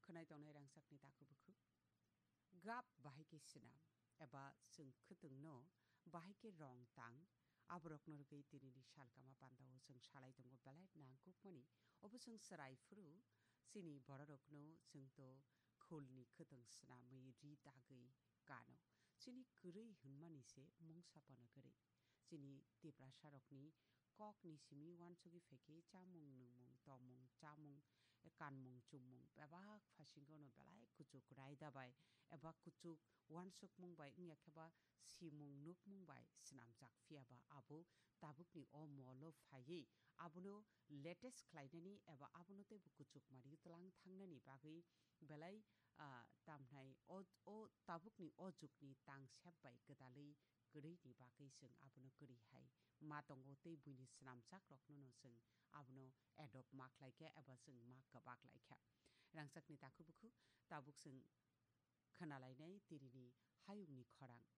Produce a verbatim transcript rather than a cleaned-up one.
Khwnai tongnai rangchakni takhuk bukhuk. Gap bahai khe swnam eba chwng khwtwngno bahai khe rong tang, aborokno rwgwi tinini salkama pandao chwng salai tongo belai nangkukmani. Obo chwng chwrai phuru chini bororokno chwngto khulni khwtwng swnamwi ri dagwi kano. Chini kwrwi hwnmani se mungsa phano kwrwi. Chini Tiprasarokni kokni simi uansugwi phaikhe chamung, nwngmung, tongmung, chamung, kanmung, chummung bebak phasingono belai kuchuk raida bai eba kuchuk uansukmung bai wngya khe ba simung nukmung bai swnamjak, phiya ba abo tabukni o molo phaiwi abono latest khlainani eba abono teibo kuchuk mari tlang thangnani bagwi belai, ah, tamhnai o, o tabukni o jukni tangsep bai kwdalwi kwrwini bagwi chwng abono kwrwi hai ma tongo tei buini swnamjakrokno no chwng abono adopt ma khlai kha eba chwng ma kwbak lai kha. Rangchakni takhuk bukhuk tabuk chwng khwnalainai tirini hayungni khorang.